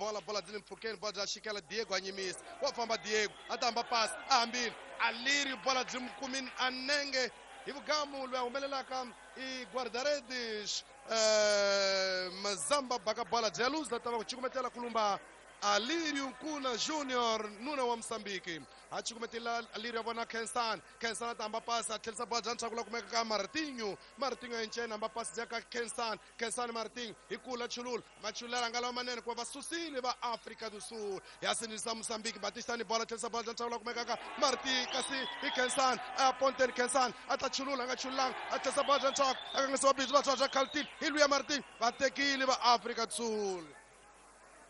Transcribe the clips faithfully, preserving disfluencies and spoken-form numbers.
bola bola byi le mpfhukeni bola bya xikela Diego a nyimisa wa famba Diego a ta hamba pasi a hambile Alirio bola byi n'wi kumini a nenge hi vugamu loyi a humelelaka i guarda-redes eh, Mazamba baka bola bya luza ta va ku cukumetela kulumba Alirio Nkuna Junior nuna wa Mozambique a cukumetela Alirio a vona Kensan Kensan a ta hamba pasi a tlherisa bola bya ntshaku la kumeka ka Martinho Martinho a encena hamba pasi bya ka Kensan Kensan Martinho hi kula chulula machulela nga lawa manene ku va susile va Afrika do Sul ya sindzisa Mozambique Batista ni bola tlherisa bola bya ntshaku la kumeka ka Martin kasi hi Kensan a ponteni Kensan a ta chulula a nga chululanga a tlherisa bola bya ntshaku a kangisiwa bindzu va bya Khaltil hi luya Martin va tekile va Afrika do Sul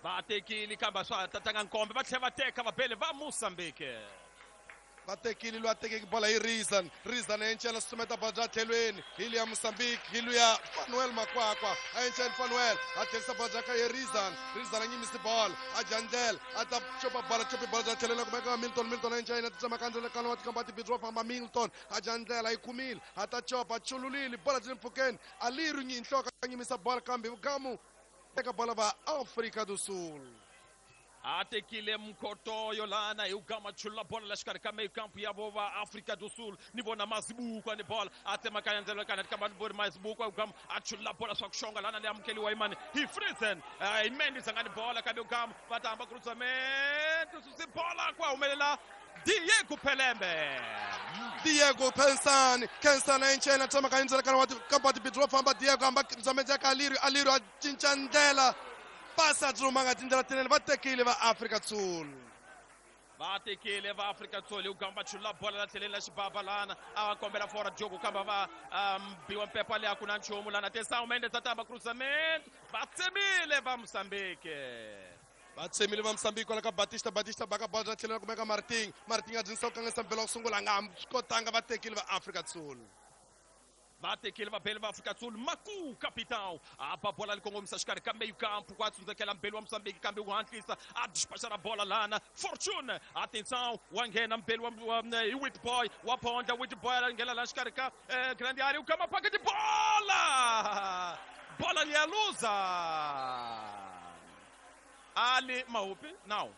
va tekile kambe swa ha tatanga nkombe va tlhela va teka vabele va Mozambique va tekile loyi a tekeke bola hi Rizan Rizan a encela susumeta bola bya tlhelweni hi luya Mozambique hi luya Fanuel Makwakwa a encela Fanuel a tlherisa bola bya ka ye Rizan Rizan a nyimisi bola a dya ndlela a ta copa bola copi bola bya tlhelweni a kumeka Milton Milton a encela a titsema kandzele kana wa tikamba tibidzi wa famba Milton a dya ndlela a yi kumile a ta copa a chululile bola byi le mpfhukeni Alirio nyinhloka a nyimisa bola kambe vugamu teka bola va Afrika do Sul a tekile mkhotoyo lana hi ugama chulula bola la xikarhi ka mekampu ya vo va Afrika do Sul ni vona Mazibuko ni bola a tsemakanya ndzelo kana tikamba ni voni Mazibuko ugama a chulula bola swa ku xonga lana leyi amukeliwa hi mani hi Friesen hi Mendes a nga ni bola kambe ugama va ta hamba cruzamento susi bola ku humelela Diego Pelembe Diego Pensani Kensani a encena tsemakanya ndzelo kana wa tikamba tibidzi wa famba Diego hamba cruzamento ya ka Alirio Alirio a cinca ndlela pasa byi humanga tindlela tinene va tekile va Afrika Sul va tekile va Afrika Sul hi ugamba chulula bola la tlheleni la xibaba lana a va kombela fora Diogo kamba va biwa mpepa leyi a ku na nchumu lana Tesão Mendes a tamba cruzamento va tsemile va Mozambique va tsemile va Mozambique kwala ka Batista Batista baka bola bya tlheleni kumeka Martin Martin a dyinisa ku kanganyisa mpela wa ku sungula a nga swi kotanga va tekile va Afrika Sul va tekile vabeli va Afrika Sul Maku capitão a ba bola li kongomisa xikarhi ka meio campo ku a tsundzekela mbeli wa Mozambique kambe wu hatlisa a dispachara bola lana Fortune atenção wa nghena mbeli wa hi Witboy wa phondla Witboy a nghena la xikarhi ka grande area u kama paketi bola bola liya luza Ali Mahupi não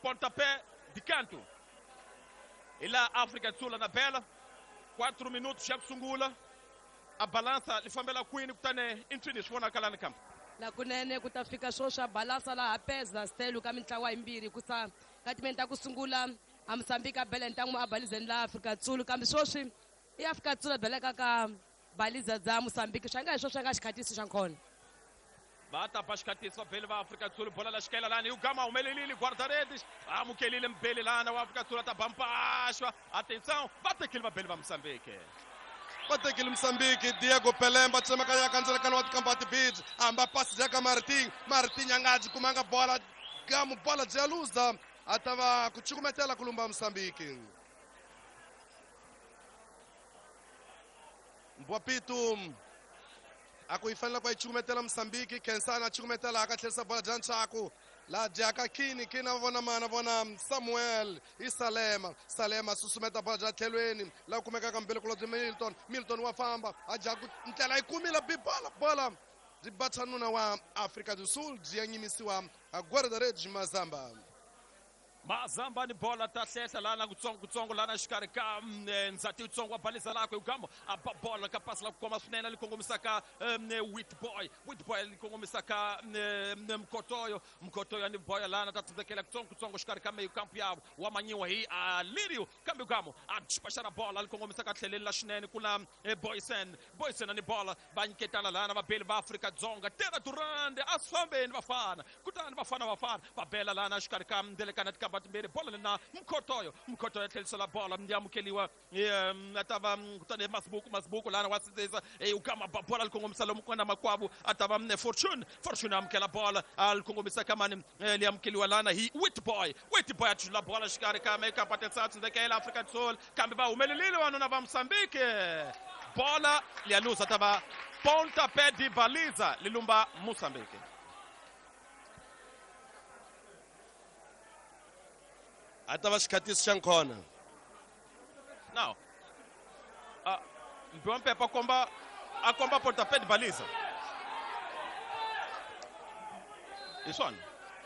pontapé de canto e lá África do Sul na bela quatro minutos já sungula a balança li fambela kwini kutani i ncini swi vonaka lani kambe la kunene ku ta fika swo swa balansa laha peza stelu ka mintlawa yimbirhi ku sa ka timeni ta ku sungula a Mozambique a bela ntangu a balizeni la Afrika Sul kambe sweswi i Afrika Sul a beleka ka baliza dza Mozambique swa nga hi swo swa nga xikhatisi xa nkhona va ta ba xikhatisi vabeli va Afrika Sul bola la xikela lani ugama humelelile guarda-redes amukelile mbeli lana wa Afrika Sul a ta ba mpaxwa atenção va tekile vabeli va Mozambique va tekile Mozambique Diego Pelemba tsemakanya kandzela kana wa tikamba tibidzi hamba pasi ya ka Martin Martin a nga byi kumanga bola gamu bola bya luza a ta va ku cukumetela ku lumba Mozambique Mbwapitu a ku yi fanele ku yi cukumetela Mozambique Kensani a cukumetela a ka tlherisa bola bya ntshaku la dyaka Kini Kini a vona mana vona Samuel i Salema Salema susumeta bola bya tlhelweni la kumekaka mbele kulobye Milton Milton wa famba a dya ku ndlela yi kumile bi bola bola byi bacha nuna wa Afrika do Sul byi ya nyimisiwa guarda-redes Mazamba Mazamba ni bola ta hlehla lana kutsongo kutsongo lana xikarhi ka ndzati wutsongo wa balisa lakwe ugamba a ba bola ka pasi la ku koma swinene li kongomisaka Witboy Witboy li kongomisaka Mkotoyo Mkotoyo ni boya lana ta tsundzekela kutsongo kutsongo xikarhi ka meyo kampu yavo wa manyiwa hi Alirio kambe ugamo a dispachara bola li kongomisaka tlheleni la xinene ku na Boysen Boysen ni bola va nyiketana lana vabeli va Afrika Dzonga Tera Durande a swi fambeni vafana kutani vafana vafana va bela lana xikarhi ka ndelekana tikamba timbirhi bola lena Mkhotoyo Mkhotoyo a tlhelisela bola ya amukeliwa a ta va kutani Masibuku Masibuku lana wa sindzisa ukama ba bola li kongomisa lomu ku nga na makwavo a ta va Fortune Fortune amukela bola a li kongomisa ka mani li amukeliwa lana hi Witboy Witboy a chula bola xikarhi ka mekapa tesa tsindzekela Afrika Sul kambe va humelelile vanuna va Mozambique bola liya luza ta va pontapé de baliza li lumba Mozambique a ta va xikhatisi xa nkhona now uh, mbiwa mpepa a komba a komba pontapé de baliza hi swona